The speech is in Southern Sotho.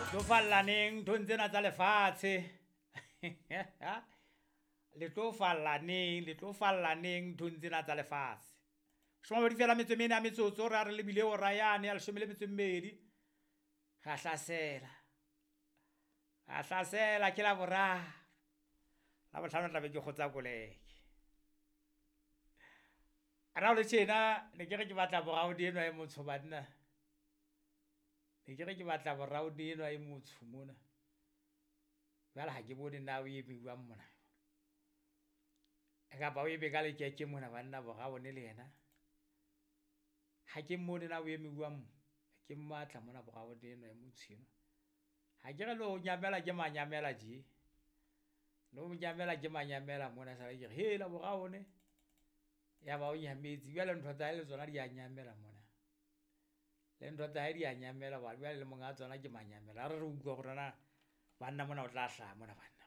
Tlo falla neng nthong tsena tsa lefatshe? Le tlo falla neng, le tlo falla neng nthong tsena tsa lefatshe? 20 fela metso e mene ya metsotso, re a re lebile hora yane ya 12. Ra hlasela, ra hlasela ke la boraro. La bohlano tla be ke kgotsa koleke. Ana o le tjena, ne ke re ke batla boraudi enwa e motsho banna. Ne ke re ke batla boraudi enwa e motsho mona. Jwale ha ke bone na o eme jwang mona. Kapa o eme ka lekeke mona banna boraone le yena. Ha ke mmone na o eme jwang mo. Ke mmatla mona boraone enwa e motsho enwa. Ha ke re le ho nyamela ke manyamela tje. Le ho nyamela ke manyamela mona sale ke re hela boraone. Ya ba o nyametse. Jwale ntho tsa hae le tsona di a nyamela mona. Le ntho tsa hae di a nyamela ba jwale le monga tsona ke manyamela. Ha re re utlwa hore na banna mona o tla hlaha mona banna.